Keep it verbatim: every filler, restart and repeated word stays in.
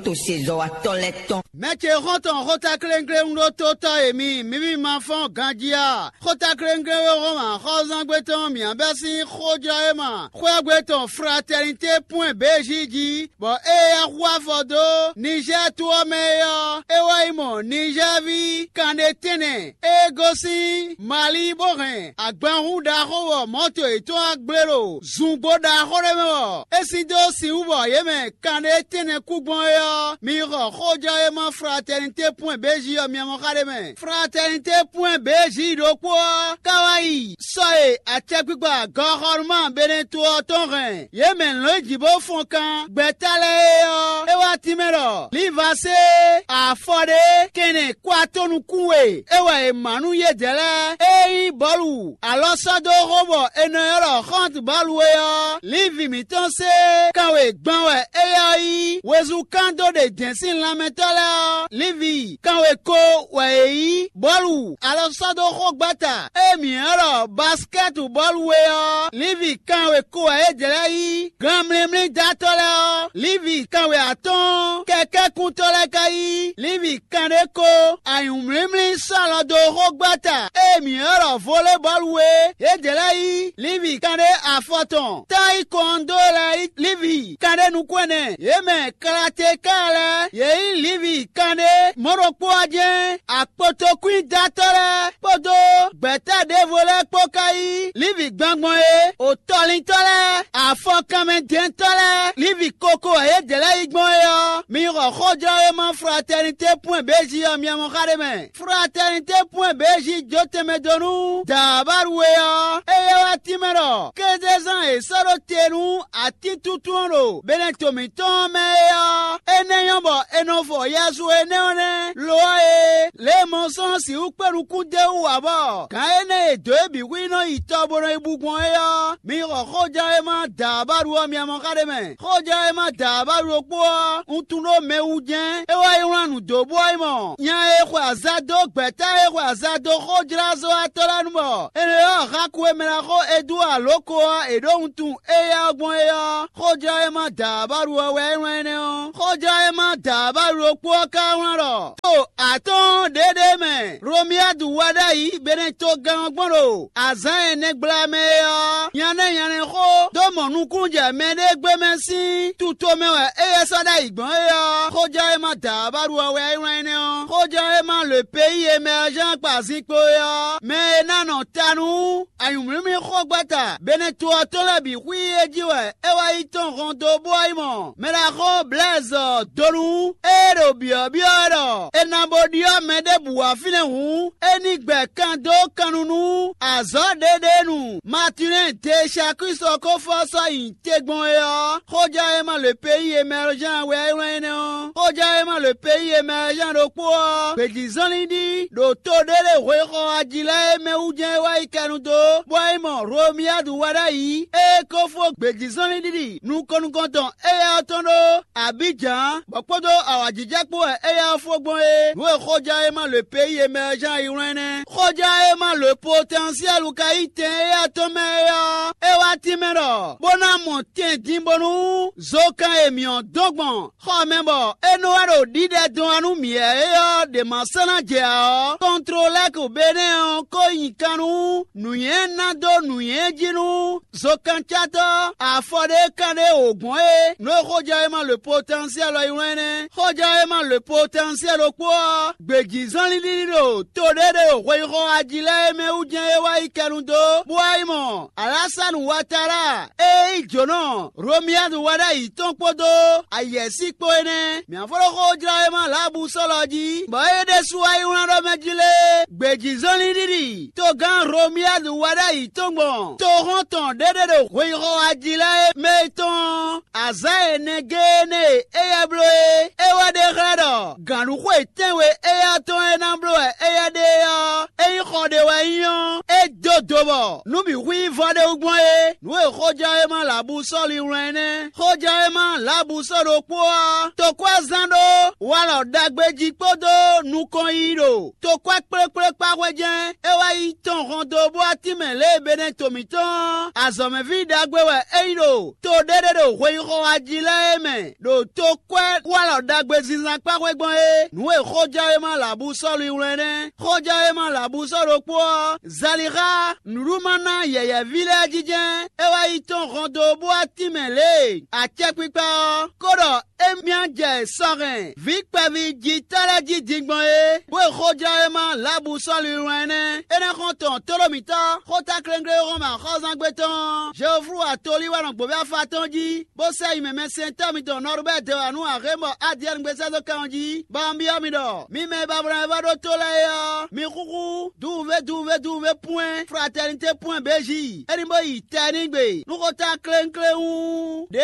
to sezɔwatɔ́ lɛ́ɛ tɔn. Mɛ ce xɔ́ntɔn xóta kléŋkléŋ ɖó tó tɔ́ e mi mǐ mì ma fɔ́n ganjí a? Xóta kléŋkléŋ e Hlɔ̌ma xɔ́zángbé tɔn mǐ bɛ́ sín xójlɔ́ e ma xwéágbé tɔn Fratɛnité pwɛ́n bějí jí, bɔ ée é hu afɔ dó Nizɛ́ɛ to ɔ́ mɛ é ɔ́, é wá yi mɔ Nizɛ́ɛví kanɖé tɛ́nnɛ e gosín Mali bó hɛn agbanhún ɖaxó wɔ mɔ̌to yětɔn wá gblé ɖo zungbó ɖaxó ɖé mɛ ɔ́, é sin dó sin wú bɔ yě mɛ kanɖé tɛ́nnɛ kú gbɔn é ɔ́, mi xɔ xójɔ e ma Fratɛnité pwɛ́n bějí ɔ́ miamɔ́ xa ɖé mɛ. Fratɛnité pwɛ́n bějí ɖokpó ɔ́ ka wá yi sɔ e acɛkpikpa gɔxɔnuma Beneto ɔ́ tɔn hɛn yě mɛ lɔ̌nyijǐ bó fɔn kan gbɛ̌ta lɛ́ɛ é ɔ́, é wá tínmɛ ɖɔ Livasée afɔ ɖé kɛnɛ kó atɔ́ nukún we é wɛ è mǎ nú yědɛɛ lɛ́ɛ. Ényí bɔ̌lu alɔ sɔ́ dó xó bɔ è nɔ ylɔ́ ɖɔ xɔ́ntɔn bɔ̌lu é ɔ́, Livi mǐtɔn se kanwe gban wɛ éyɛ́ ɔ́ yí wezun kán dó ɖe dɛ̌n sín lanmɛtɔ́ lɛ́ɛ ɔ́, Livi kanwe ko wɛ è yí bɔ̌lu alɔ sɔ́ dó xógbata e mǐ ylɔ́ ɖɔ basikɛ́tu bɔ̌lu é ɔ́, Livi kanwe ko wɛ yědɛɛ lɛ́ɛ yí. Ganmlímlídatɔ́ lɛ́ɛ ɔ́, Livi kanwe atɔ́ɔ́n kɛkɛ́kuntɔ́ lɛ́ɛ ka yí. Livi kanɖé ko anyǔmlímlí sɔ́ alɔ dó xógbata e mǐ ylɔ́ ɖɔ volebɔ́lu é. Yědɛɛ lɛ́ɛ yí Livi kanɖé afɔtɔn táyí kɔndó lɛ́ɛ yí Livi kanɖé nukún ɛnɛ. Yě mɛ Kalatéka lɛ́ɛ, yě yí Livi kanɖé mɔ̌ ɖokpó ɔ́ jɛ́n akpotokwídatɔ́ lɛ́ɛ kpódó gbɛ̌ta ɖěvo lɛ́ɛ kpó ka yí Livi gbɔngbɔn é. Otɔlintɔ́ lɛ́ɛ, afɔkanmɛdɛntɔ́ lɛ́ɛ, Livi koko e yě dě lɛ́ɛ yi gbɔn é ɔ́, mi xɔ xójlɔ́wéma Fratɛnité pwɛ́n bějí ɔ́ miamɔ́ xa ɖé mɛ. Fratɛnité pwɛ́n bějí jó tɛnmɛ dó nú Daabalu é ɔ́, éyɛ́ wá tínmɛ ɖɔ kézezán e sɔ́ ɖó te nú atíntúntún ɔ́ ɖo Beneto mǐtɔn ɔ́ mɛ é ɔ́, énɛ́ nyɔ́ bɔ è nɔ fɔ yɛzu énɛ́ ɔ́ nɛ́. Lo ɔ́ e, lě e mɔ sɔ́ sixú kpé nukún d'é wú ǎ bɔ gǎn énɛ́ e dǒ é bǐ hu yi nɔ yi tɔ bó nɔ yi bú gbɔn é ɔ́, mi xɔ xóján e ma da abáɖu ɔ́ miamɔ xa ɖé mɛ. Xóján e ma da abáɖu ɖokpó ɔ́, un tunwun ɖó mɛ wú jɛ́n é wá yi wlán nǔ dó bó wá yi mɔ nya e xwe azǎn dó gbɛ̌ta e xwe azǎn dó xójlázɔ́watɔ́ lɛ́ɛ nu bɔ è nɔ ylɔ́ Haku e mɛ ná xo Edúa lǒ ko ɔ́ è ɖǒ wuntun éyɛ́ ɔ́ gbɔn é ɔ́, xóján e ma da abáɖu ɔ́ wɛ é wlán énɛ́ ɔ́. Xóján e ma da abáɖu ɖokpó ɔ́ ka wlán ɖɔ: To atɔ́ɔ́n ɖěɖée mɛ Romiyadu wá ɖ'ayǐ Benɛtogán ɔ́ gbɔn ɖo azǎn ɛnɛ gbla mɛ é ɔ́, nyanɛ́ nyanɛ́ xó dó mɔ nukúnnú jɛ mɛɖée gbé mɛ sín tuto mɛ wɛ éyɛ́ sɔ́ ɖ'ayǐ gbɔn é ɔ́, xóján e ma da abáɖu ɔ́ wɛ é wlán énɛ́ ɔ́. Xóján e ma le peyi e mɛ ɔ́ zán kpa zinkpo é ɔ́, mɛ e ná nɔ ta nú anyǔmlímlí xógbata Beneto ɔ́ tɔn lɛ́ɛ bǐ xwí é jí wɛ é wá yi tɔn hɔn dó bó wá yi mɔ mɛɖaxó Blɛ́ɛzɔ donu e ɖo byɔ̌byɔ́ wɛ ɖɔ è nǎ bo ɖyɔ́ mɛ ɖěbǔ wá fínɛ́ hǔn, é ní gbɛ kan dó kannú nú azɔ̌ ɖěɖéenu Matilɛ́n Deesakwísi ɔ́ ko fɔ sɔ́ nyi te gbɔn é ɔ́, xóján e ma le peyi e mɛ ɔ́ zán wɛ é wlán énɛ́ ɔ́. Xóján e ma le peyi e mɛ ɔ́ zán ɖokpó ɔ́, gbějízɔnlin ɖi ɖo to ɖé ɖé hwexɔ ají lɛ́ɛ e mɛ wú jɛ́n é wá yi kɛnu dó, bó wá yi mɔ Romiyadu wá ɖ'ayǐ, ée é ko fó gbějízɔnlin ɖiɖi nukɔn nukɔntɔn éyɛ́ ɔ́ tɔn ɖó Abíjan, bɔ kpódó awǎjijɛ kpó wɛ éyɛ́ ɔ́ fó gbɔn é. Nǔ e xóján e ma le peyi e mɛ ɔ́ zán yi wlán nɛ́. Xóján e ma le potɛnsiɛlu ka yí tɛn éyɛ́ tɔn mɛ é ɔ́, é wá tínmɛ ɖɔ bó ná mɔ tɛn din bónú zokan e mǐ ɔ́ dɔn gbɔn xɔ mɛ bɔ é nɔ wá ɖo ɖiɖɛ dɔn wá nú mǐ wɛ é ɔ́ ɖě ma sɔ́ ná jɛ ǎ ɔ́, kɔntlolɛ́ku Benɛ́ɛ ɔ́ ko nyi kan nú nǔnywɛ́ ná dó nǔnywɛ́ jí nú zokancátɔ́ afɔ ɖé kan ɖé wǒ gbɔn é. Nǔ e xójɛwéma le potɛnsiɛl ɔ́ yi wlán nɛ́. Xójɛwéma le potɛnsiɛl ɖokpó ɔ́, gbějízɔnlin ɖiɖi ɖo to ɖé ɖe ɖo hweyixɔ ají lɛ́ɛ é mɛ wú jɛ́n é wá yi kɛnu dó, bó wá yi mɔ Alásanu Watara e nyí jǒnɔ Romiyadu wɛ ɖ'ayǐ tɔn kpódó ayɛ̌sí kpó é nɛ́. Mǐ fó ɖó xó jlá e ma Laabu sɔ́lɔ jí, bɔ é ɖésú wá yi wlán ɖɔ mɛ jí lé. Gbějízɔnlin ɖiɖi togán Romiyadu wɛ ɖ'ayǐ tɔn gbɔn toxɔ́ntɔn ɖé ɖe ɖo hweyixɔ ají lɛ́ɛ é mɛ tɔn azǎn ɛnɛ géé nɛ́ e éyɛ́ bló é. É wá ɖe xlɛ́ ɖɔ gǎnɖuxwe tɛ́nwe éyɛ́ tɔn e ná bló wɛ éyɛ́ ɖe é ɔ́, ényí xɔ ɖé wɛ nyí ɔ́, é dó do bɔ nǔ bǐ hu nyí vɔ ɖé wú gbɔn é. Nǔ e xójɛwéma Laabu sɔ́ li wlán é nɛ́. Xójɛwéma Laabu sɔ́ ɖokpó ɔ́, tokwɛ́zán ɖó walɔ ɖagbe jí kpódó nukɔn yiyi ɖo tokwɛ́ kplékplé kpá hwé jɛ́n. É wá yi tɔn hɔn dó bó wá tínmɛ lě e Benɛto mǐtɔn ɔ́, azɔ̌mɛví ɖagbe wɛ é nyí ɖo to ɖé ɖé ɖo hweyíxɔ wá jí lɛ́ɛ é mɛ, ɖo tokwɛ́ walɔ ɖagbe zínzán kpá hwé gbɔn é. Nǔ e xójɛwéma Labusɔ́lu wlɛ́n nɛ́. Xójɛwéma Labusɔ́ ɖokpó ɔ́, Zalixa nǔɖuɖu ma ná yɛ̌yɛ́ví lɛ́ɛ jijɛ, é wá yi tɔn hɔn dó bó wá tínmɛ lě e acɛkpikpa ɔ́ ko ɖɔ émí jɛ sɔ hɛn vǐ kpɛví jǐtɔ́ lɛ́ɛ jí din gbɔn é, bó e xójlɔ́ e ma Labusɔ́lu wlán nɛ́. É ná xɔ́n tɔn tóɖó mǐtɔn xótáklɛ́nglé e hɔn mɛ axɔ́zángbé tɔn ɔ́, Jeoflu atolí wɛ nɔ gbǒví afa tɔn jí, bó sɛ́ yi mɛ mɛsɛntɔ́ mitɔn Nɔrubɛ́ dɛwanu Axémɔ Adiyɛ́ɛn gbé sɛ́ dó kan ɔ́ jí, bɔ un byɔ́ mi ɖɔ: mi mɛ e ba vlɛ́ wɛ vɔ́ ɖó tó lɛ́ɛ é ɔ́, mi xúxú duwuvé duwuvé duwuvé pwɛ́n fratɛnité pwɛ́n bějí, é ní bó yi tɛ n'i gbe nú xótáklɛ́nglé hú. Ɖě